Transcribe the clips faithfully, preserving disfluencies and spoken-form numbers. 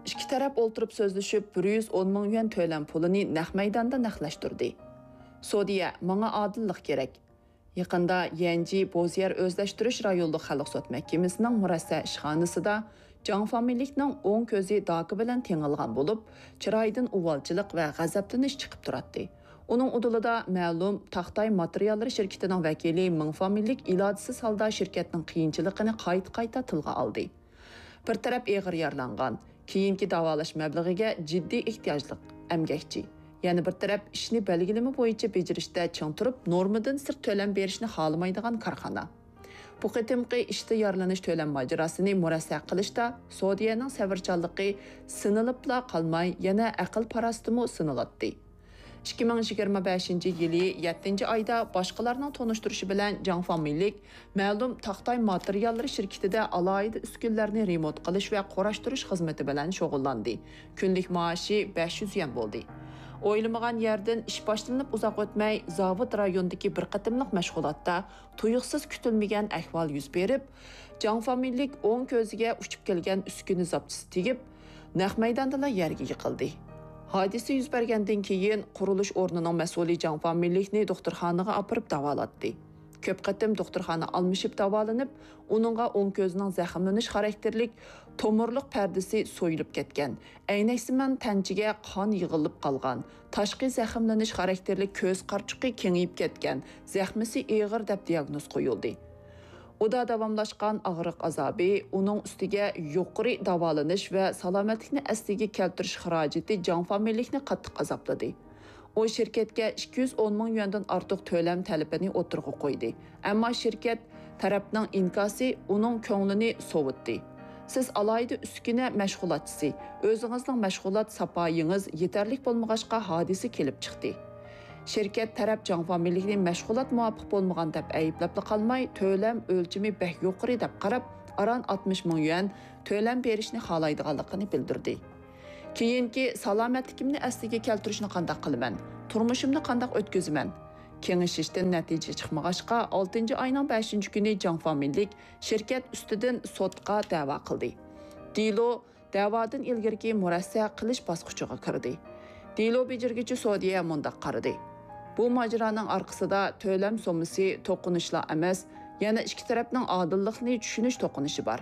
ئىككى تەرەپ ئولتۇرۇپ سۆزلىشىپ، بىر يۈز ئون مىڭ يۈەن تۆلەم پۇلىنى نەق مەيداندا نەقلەشتۈردى. سودىيە، ماڭا ئادىللىق كېرەك. يېقىندا يەنجى بوزيەر ئۆزلەشتۈرۈش رايونلۇق خەلق سوت مەھكىمىسىنىڭ مۇرەسسە ئىشخانىسىدا جاڭ فامىلىلىكنىڭ ئوڭ كۆزى داكا بىلەن تېڭىلغان بولۇپ، چىرايىدىن ئۇۋالچىلىق ۋە غەزەپلىنىش چىقىپ تۇراتتى. ئۇنىڭ ئۇدۇلىدا مەلۇم تاختاي ماتېرىياللىرى شىركىتىنىڭ ۋەكىلى مىڭ فامىلىلىك ئىلاجىسىز ھالدا شىركەتنىڭ قىيىنچىلىقىنى قايتا-قايتا تىلغا ئالدى. بىر تەرەپ ئېغىر يارىلانغان، كېيىنكى داۋالاش مەبلىغىگە جىددىي ئېھتىياجلىق ئەمگەكچى. يەنە بىر تەرەپ ئىشنى بەلگىلىمە بويىچە بېجىرىشتە چىڭ تۇرۇپ، نورمىدىن سىرت تۆلەم بېرىشنى خالىمايدىغان كارخانا. بۇ قېتىمقى ئىشتا يارىلىنىش تۆلەم ماجىراسىنى مۇرەسسە قىلىشتا سودىيەنىڭ سەۋرچانلىقى سىنىلىپلا قالماي، يەنە ئەقىل-پاراسىتىمۇ سىنىلاتتى. ئىككى مىڭ يىگىرمە بەشىنچى يىلى يەتتىنچى ئايدا باشقىلارنىڭ تونۇشتۇرۇشى بىلەن جاڭ فامىلىلىك مەلۇم تاختاي ماتېرىياللىرى شىركىتىدە ئالاھىدە ئۈسكۈنىلەرنى رېمونت قىلىش ۋە قۇراشتۇرۇش خىزمىتى بىلەن شۇغۇللاندى. كۈنلۈك مائاشى بەش يۈز يۈەن بولدى. ئويلىمىغان يەردىن ئىش باشلىنىپ ئۇزاق ئۆتمەي، زاۋۇت رايونىدىكى بىر قېتىملىق مەشغۇلاتتا تۇيۇقسىز كۈتۈلمىگەن ئەھۋال يۈز بېرىپ، جاڭ فامىلىلىك ئوڭ كۆزىگە ئۇچۇپ كەلگەن ئۈسكۈنە زاپچىسى تېگىپ، نەق مەيداندىلا يەرگە يىقىلدى. ھادىسە يۈز بەرگەندىن كېيىن، قۇرۇلۇش ئورنىنىڭ مەسئۇلى جاڭ فامىلىلىكنى دوختۇرخانىغا ئاپىرىپ داۋالاتتى. كۆپ قېتىم دوختۇرخانا ئالمىشىپ داۋالىنىپ، ئۇنىڭغا ئوڭ كۆزىنىڭ زەخىملىنىش خاراكتېرلىك تومۇرلۇق پەردىسى سويۇلۇپ كەتكەن، ئەينەكسىمان تەنچىگە قان يىغىلىپ قالغان، تاشقى زەخىملىنىش خاراكتېرلىك كۆز قارىچۇقى كېڭىيىپ كەتكەن، زەخمىسى ئېغىر دەپ دىياگنوز قويۇلدى. ئۇدا داۋاملاشقان ئاغرىق ئازابى، ئۇنىڭ ئۈستىگە يۇقىرى داۋالىنىش ۋە سالامەتلىكنى ئەسلىگە كەلتۈرۈش خىراجىتى جاڭ فامىلىلىكنى قاتتىق ئازابلىدى. ئۇ شىركەتكە ئىككى يۈز ئون مىڭ يۈەندىن ئارتۇق تۆلەم تەلىپىنى ئوتتۇرىغا قويدى، ئەمما شىركەت تەرەپنىڭ ئىنكاسى ئۇنىڭ كۆڭلىنى سوۋۇتتى. سىز ئالاھىدە ئۈسكۈنە مەشغۇلاتچىسى، ئۆزىڭىزنىڭ مەشغۇلات ساپايىڭىز يېتەرلىك بولمىغاچقا ھادىسە كېلىپ چىقتى. شىركەت تەرەپ جاڭ فامىلىلىكنى مەشغۇلات مۇۋاپىق بولمىغان دەپ ئەيىبلەپلا قالماي، تۆلەم ئۆلچىمى بەك يۇقىرى دەپ قاراپ، ئاران ئاتمىش مىڭ يۈەن تۆلەم بېرىشنى خالايدىغانلىقىنى بىلدۈردى. كېيىنكى سالامەتلىكىمنى ئەسلىگە كەلتۈرۈشنى قانداق قىلىمەن؟ تۇرمۇشۇمنى قانداق ئۆتكۈزىمەن؟ كېڭىشىشتىن نەتىجە چىقمىغاچقا، ئالتىنچى ئاينىڭ بەشىنچى كۈنى جاڭ فامىلىلىك شىركەت ئۈستىدىن سوتقا دەۋا قىلدى. دېلو دەۋادىن ئىلگىرىكى مۇرەسسە قىلىش باسقۇچىغا كىردى. دېلو بېجىرگۈچى سودىيە مۇنداق قارىدى: بۇ ماجىرانىڭ ئارقىسىدا تۆلەم سوممىسى توقۇنۇشلا ئەمەس، يەنە ئىككى تەرەپنىڭ ئادىللىقنى چۈشىنىش توقۇنۇشى بار.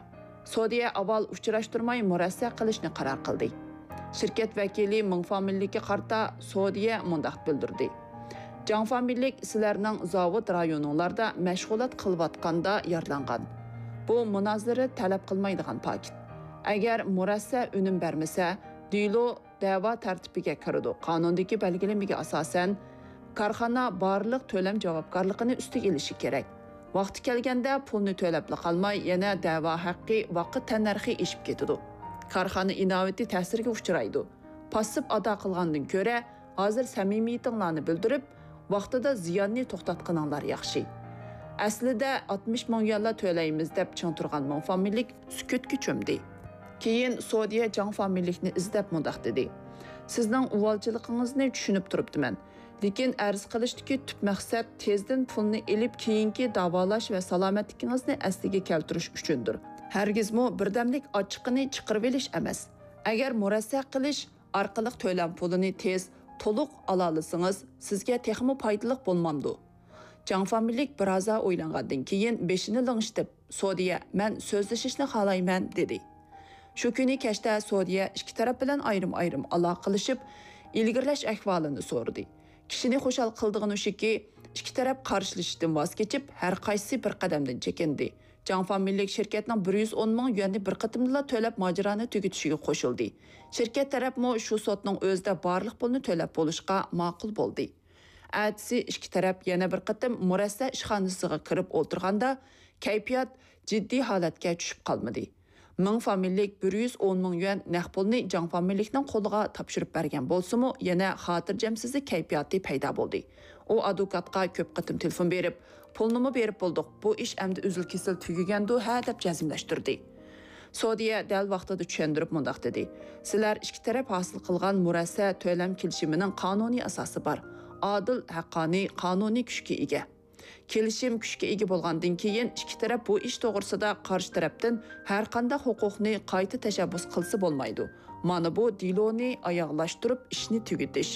سودىيە ئاۋۋال ئۇچراشتۇرماي مۇرەسسە قىلىشنى قارار قىلدى. شىركەت ۋەكىلى مىڭ فامىلىلىككە قارىتا سودىيە مۇنداق بىلدۈردى: جاڭ فامىلىلىك سىلەرنىڭ زاۋۇت رايونۇڭلاردا مەشغۇلات قىلىۋاتقاندا يارىلانغان. بۇ مۇنازىرە تەلەپ قىلمايدىغان پاكىت. ئەگەر مۇرەسسە ئۈنۈم بەرمىسە، دېلو دەۋا تەرتىپىگە كىرىدۇ. قانۇندىكى بەلگىلىمىگە ئاساسەن، كارخانا بارلىق تۆلەم جاۋابكارلىقىنى ئۈستىگە ئېلىشى كېرەك. ۋاقتى كەلگەندە پۇلنى تۆلەپلا قالماي، يەنە دەۋا ھەققى ۋاقىت تەننەرخى ئېشىپ كېتىدۇ. كارخانا ئىناۋىتى تەسىرگە ئۇچرايدۇ. پاسسىپ ئادا قىلغاندىن كۆرە، ھازىر سەمىمىيىتىڭلارنى بىلدۈرۈپ، ۋاقتىدا زىياننى توختاتقىنىڭلار ياخشى. ئەسلىدە ئاتمىش مىڭ يۈەنلا تۆلەيمىز دەپ چىڭ تۇرغان مىڭ فامىلىلىك سۈكۈتكە چۆمدى. كېيىن سودىيە جاڭ فامىلىلىكنى ئىزدەپ مۇنداق دېدى: سىزنىڭ ئۇۋالچىلىقىڭىزنى چۈشىنىپ تۇرۇپتىمەن. لېكىن ئەرز قىلىشتىكى تۈپ مەقسەت تېزدىن پۇلنى ئېلىپ، كېيىنكى داۋالاش ۋە سالامەتلىكىڭىزنى ئەسلىگە كەلتۈرۈش ئۈچۈندۇر. ھەرگىزمۇ بىردەملىك ئاچچىقىنى چىقىرىۋېلىش ئەمەس. ئەگەر مۇرەسسە قىلىش ئارقىلىق تۆلەم پۇلىنى تېز، تولۇق ئالالىسىڭىز، سىزگە تېخىمۇ پايدىلىق بولمامدۇ؟ جاڭ فامىلىلىك بىرازا ئويلانغاندىن كېيىن بېشىنى لىڭشىتىپ، سودىيە، مەن سۆزلىشىشنى خالايمەن، دېدى. شۇ كۈنى كەچتە سودىيە ئىككى تەرەپ بىلەن ئايرىم-ئايرىم ئالاقىلىشىپ، ئىلگىرىلەش ئەھۋالىنى سورىدى. كىشىنى خۇشال قىلىدىغىنى شۇكى، ئىككى تەرەپ قارشىلىشىشتىن ۋاز كېچىپ، ھەر قايسىسى بىر قەدەمدىن چېكىندى. جاڭ فامىلىلىك شىركەتنىڭ بىر يۈز ئون مىڭ يۈەننى بىر قېتىمدىلا تۆلەپ، ماجىرانى تۈگىتىشىگە قوشۇلدى. شىركەت تەرەپمۇ شۇ سوتنىڭ ئۆزىدە بارلىق پۇلنى تۆلەپ بولۇشقا ماقۇل بولدى. ئەتىسى ئىككى تەرەپ يەنە بىر قېتىم مۇرەسسە ئىشخانىسىغا كىرىپ ئولتۇرغاندا، كەيپىيات جىددىي ھالەتكە چۈشۈپ قالمىدى. مىڭ فامىلىلىك بىر يۈز ئون مىڭ يۈەن نەق پۇلنى جاڭ فامىلىلىكنىڭ قولىغا تاپشۇرۇپ بەرگەن بولسىمۇ، يەنە خاتىرجەمسىزلىك كەيپىياتى پەيدا بولدى. ئۇ ئادۋوكاتقا كۆپ قېتىم تېلېفون بېرىپ، پۇلنىمۇ بېرىپ بولدۇق، بۇ ئىش ئەمدى ئۈزۈل-كېسىل تۈگىگەندۇ ھە دەپ جەزملەشتۈردى. سودىيە دەل ۋاقتىدا چۈشەندۈرۈپ مۇنداق دېدى: سىلەر ئىككى تەرەپ ھاسىل قىلغان مۇرەسسە تۆلەم كېلىشىمىنىڭ قانۇنىي ئاساسى بار. ئادىل، ھەققانىي، قانۇنىي كۈچكە ئىگە. كېلىشىم كۈچكە ئىگە بولغاندىن كېيىن، ئىككى تەرەپ بۇ ئىش توغرىسىدا قارشى تەرەپتىن ھەرقانداق ھوقۇقنى قايتا تەشەببۇس قىلسا بولمايدۇ. مانا بۇ دېلونى ئاياغلاشتۇرۇپ ئىشنى تۈگىتىش.